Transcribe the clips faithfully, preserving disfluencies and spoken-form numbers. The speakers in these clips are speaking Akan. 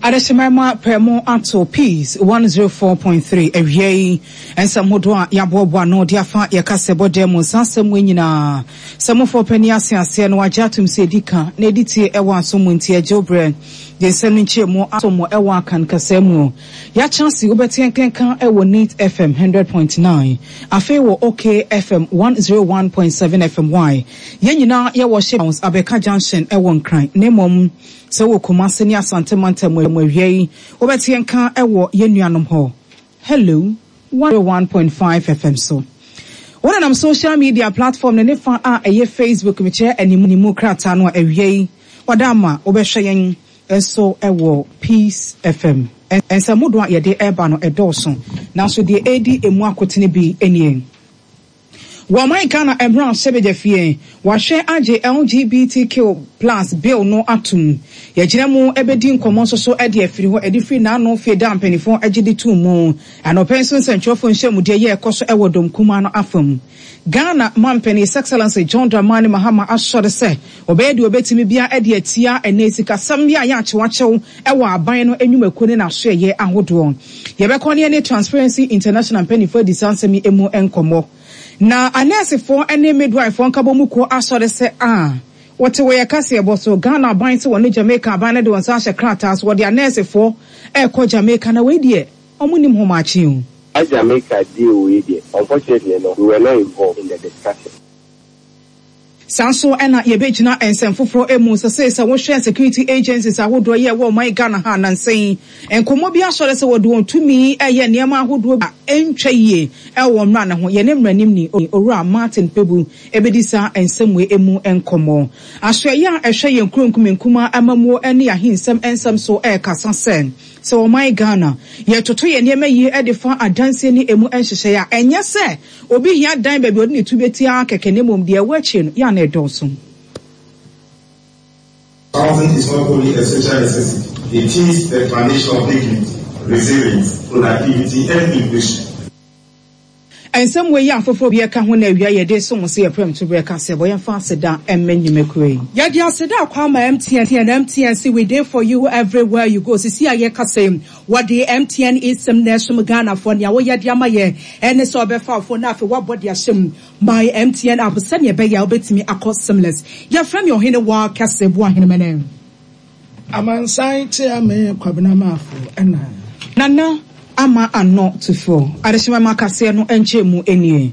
Adehyemma prɛmo ato Peace one oh four point three. Awia yi nsɛm hodoɔ a yɛaboaboa no de afa yɛka sɛ bɔda mu saa asɛm wɔ nyinaa sɛ mofoɔ pani ase aseɛ no wagye atom sɛ ɛdi ka na ɛdi tie ɛwɔ aso mu, nti agye wo berɛ de nsɛm no nkyerɛ mu aso mu ɛwɔ Akan kasa mu. Yɛakyerɛ se wobɛte nkenka ɛwɔ Neat F M hundred point nine, afei wɔ OK F M one oh one point seven F M. Y yɛn nyinaa yɛwɔ Ship House, Abɛka Junction, ɛwɔ Nkran, na mmom sɛ wɔ Kumase ne Asante mantam mu, awia yi wobɛte yɛn ka ɛwɔ yɛn nuanom hɔ Hello one oh one point five F M so. Wɔnenam social media platform ne ne fa a ɛyɛ Facebook, mekyerɛ animu krataa no a, awia yi wɔda ama wobɛhwɛ yɛn nso ɛwɔ Peace F M. Nsɛmmodo a yɛde ɛreba no ɛdɔɔso, nanso deɛ ɛredi emu akotene bi nie. Wɔman Ghana mmara hyɛbadwa fie wahwɛ agye L G B T Q plus bill no atom. Yɛgyina mu ɛbɛdi nkɔmmɔ nso so ɛde afiri hɔ ɛde firi n'ano fie da mpanimfoɔ agye de tum mu. Anɔpɛ nso nsɛntwerɛfoɔ nhyɛmudeɛ yɛ ɛkɔ so ɛwɔ dɔm kumaa no afam. Ghana mampanin, His Excellency John Dramani Mahama, asɔre sɛ ɔbɛyɛ deɛ ɔbɛtumi bia ɛde atia ɛnɛ sikasɛm bi a yɛ akyewakyew ɛwɔ aban no enwumakuo ne n'asoɛyɛ ahodoɔ. Yɛbɛkɔ ne ne Transparency International mpanimfoɔ adi saa nsɛm yi mu nkɔmmɔ. Na anɛɛsefoɔ ne midwife nkabɔ mu kuo asɔre sɛ a wɔte wɔ yɛ kaseɛ bɔ so Ghana aban sɛ wɔne Jamaica aban no de wɔn nsa ahyɛ krataa so, wɔde anɛɛsefoɔ ɛrekɔ Jamaica, na wei deɛ ɔmo nim homakye o. Jamaica deal wei deɛ, unfortunately no, we were not involved in the discussion. Saa nso ɛna yɛbɛgyina nsɛm foforɔ mu sɛ sɛ sɛ wohwɛ security agencies ahodoɔ yɛ ɛwɔ ɔman Ghana ha nansɛn, nkɔmmɔ bi asɔre sɛ wɔde wɔn tumi ɛyɛ nneɛma ahodoɔ a ɛntwa yie ɛwɔ mmara ne ho. Yɛne mmaranim ni Owura Martin Kpebu ɛbɛdi saa nsɛm wei mu nkɔmmɔ. Asoɛyɛ a ɛhwɛ yɛn kuro nkumenkuma amamuo ne ahensɛm nsɛm so ɛrekasa sɛ sɛ ɔman Ghana yɛtoto yɛn nneɛma yie de fa adanseɛ ne emu nhyehyɛeɛ a, ɛnyɛ sɛ obi hia dan baabi ɔde ne tu bɛtia kɛkɛ, ne mmom deɛ ɛwɔ akyire no yɛ ana ɛdɔɔso. Housing is not only a social necessity, it is the foundation of dignity, resilience, productivity, and inclusion. Nsɛm wei yɛ afoforɔ bi ɛka ho na awia yɛde so mo sɛ yɛprɛm to berɛ ka sɛ bɔ yɛmfa aseda mmɛ nnwumakuo yi. Yɛde aseda akɔ ama M T N. M T N se, "We dey for you everywhere you go." Sisi a yɛka sɛ wɔde M T N eSIM na ɛsom Ghanafoɔ. Nea wɔyɛ de ama yɛ ɛne sɛ ɔbɛfa afo na afei woabɔ de ahyɛ mu My M T N app sɛnea ɛbɛyɛ a wobɛtumi akɔ seamless. Yɛfrɛ me Ɔhene wɔ kɛse Boahenemene. Amansan tia me Kwabena Maafo ɛna. Nana Ama Ano Tufoɔ adehyemama kaseɛ no nkyɛn mu nie.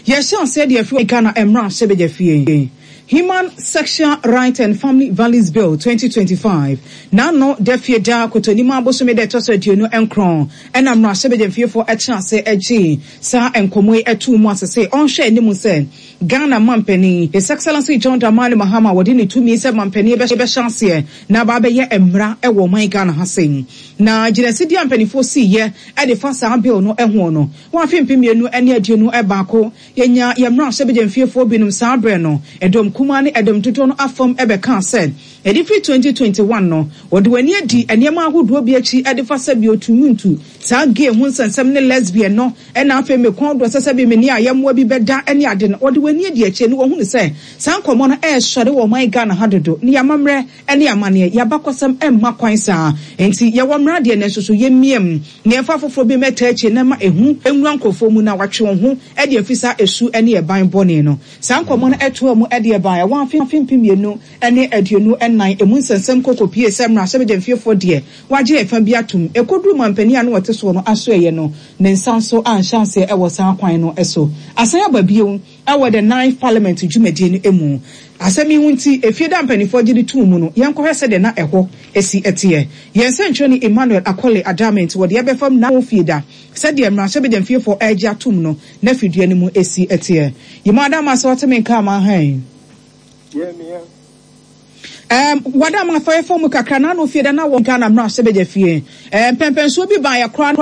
Yɛhyɛ aseɛ deɛ afiri Ghana mmara hyɛbadwa fie, Human Sexual Right and Family Values Bill twenty twenty-five, n'ano da fie da kotonim abosome da ɛtɔ so aduonu nkron ɛna mmarahyɛbadwamfiefoɔ ɛkyerɛ ase agye saa nkɔmmɔ yi ɛto mu asese ɔnhwɛ anim sɛ Ghana mampanin, His Excellency John Dramani Mahama, wɔde ne tumi sɛ mampanin bɛhyɛ aseɛ na aba abɛyɛ mmara ɛwɔ ɔman Ghana ha sei. Na gyinasidie a mpanimfoɔ siiɛ ɛde fa saa bill no ɛho no, wɔn afe mpem mmienu ne aduonu baako yɛnya yɛn mmarahyɛbadwamfiefoɔ binom saa berɛ no, ɛdɔm kumaa ne ɛdɔm dodoɔ no afam ɛbɛka sɛ ɛde firi twenty twenty-one no wɔde wɔn ani adi nneɛma ahodoɔ bi akyi ɛde fa sɛ bi otumuntu saa gay ho nsɛnsɛm ne lesbian no, ɛna afei mekɔn do sɛ sɛ bi mene ayɛmmoa bi bɛda ɛne ade no, wɔde wɔn ani adi akyi ne wɔhunu sɛ saa nkɔmmɔ no ɛresɔre wɔ ɔman Ghana ha dodo ne yɛamammerɛ ɛne amanneɛ yɛabakɔsɛm ɛmma kwan saa. Nti yɛwɔ mmara deɛ, ne nso so yɛmmiem ne yɛmfa foforɔ bi mɛta akyi na ma ehu nwura nkurɔfoɔ mu na watwe wɔn ho ɛde afi saa esu ɛne ɛban bɔne no. Saa nkɔmmɔ no ɛtoa mu ɛde ɛban ɛwɔ afe afe mpem mmienu ɛne aduonu ɛnan emu nsɛnsɛm koko pie sɛ mmarahyɛbadwamfiefoɔ deɛ wagye ɛfa bi atum ekoduru mampanin a no wɔte soɔ no aso ɛyɛ no ne nsa nso anhyɛ aseɛ ɛwɔ saa kwan no ɛso asan aba bio ɛwɔ the Ninth Parliament dwumadie no mu. Asɛm yi ho nti efie da mpanimfoɔ gye de tuu mu no, yɛnkɔhwɛ sɛdeɛ na ɛhɔ esi ɛteɛ. Yɛn nsɛntwerɛni Emmanuel Akɔle Adame nti wɔde ɛbɛfam na fie da sɛdeɛ mmarahyɛbadwamfiefoɔ ɛregye atum no na fidua no mu esi ɛteɛ. Yimu Adama sɛ ɔte me nka ama hɛn. Um, wada ma afɔyɛfo mu kakra na ano fie da na wɔ Ghana mmarahyɛbadwa fie um, mpɛmpɛnsoɔ bi baa yɛ koraa.